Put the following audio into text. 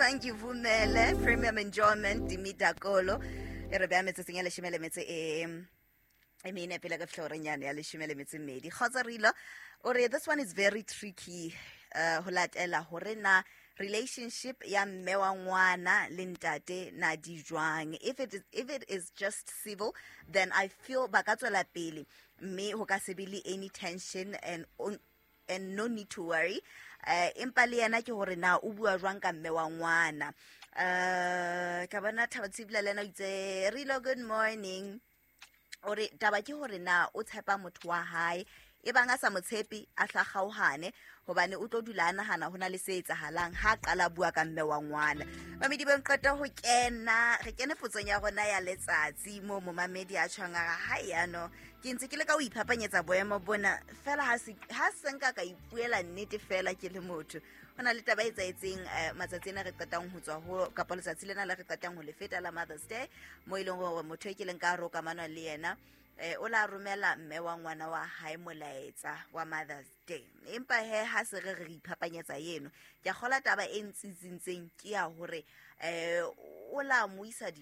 Bangivumele, Premium Enjoyment, Dimidakolo. E re beha metsotsong ya leshome le metso e e mene pele ka fihla horeng yane ya leshome le metso e mmedi. Kgotsa Rilo o re this one is very tricky, ho latela hore na relationship ya mme wa ngwana le ntate na di jwang. If it is just civil, then I feel ba ka tswela pele, mme ho ka se be le any tension and no need to worry. Empa le yena ke hore na o bua jwang ka mme wa ngwana. Ka bona Thabo Tshibula le yena o itse, "Rilo, good morning." O re taba ke hore na o tshepa motho wa hae. E bang a sa mo tshepe, a hla kgaohane, hobane o tlo dula a nahana ho na le se etsahalang ha a qala bua ka mme wa ngwana. Mamedi beng qeta ho kena, re kene potsong ya rona ya letsatsi moo momamedi a tjhong a re, "Hai yano ke ntse ke le ka ho iphapanyetsa boemo bona fela, ha se nka ka ipuela nnete fela ke le motho." Ho na le taba e etsaetseng matsatsi ena re qetang ho tswa ho, kapa letsatsi lena le re qetang ho le feta la Mother's Day, mo e leng hore motho e ke leng ka hare ho kamano le yena o la romela mme wa ngwana wa hae molaetsa wa Mother's Day. Empa he, ha se re re iphapanyetsa eno, ke a kgola taba e ntsitsintseng ke ya hore o la mo isa.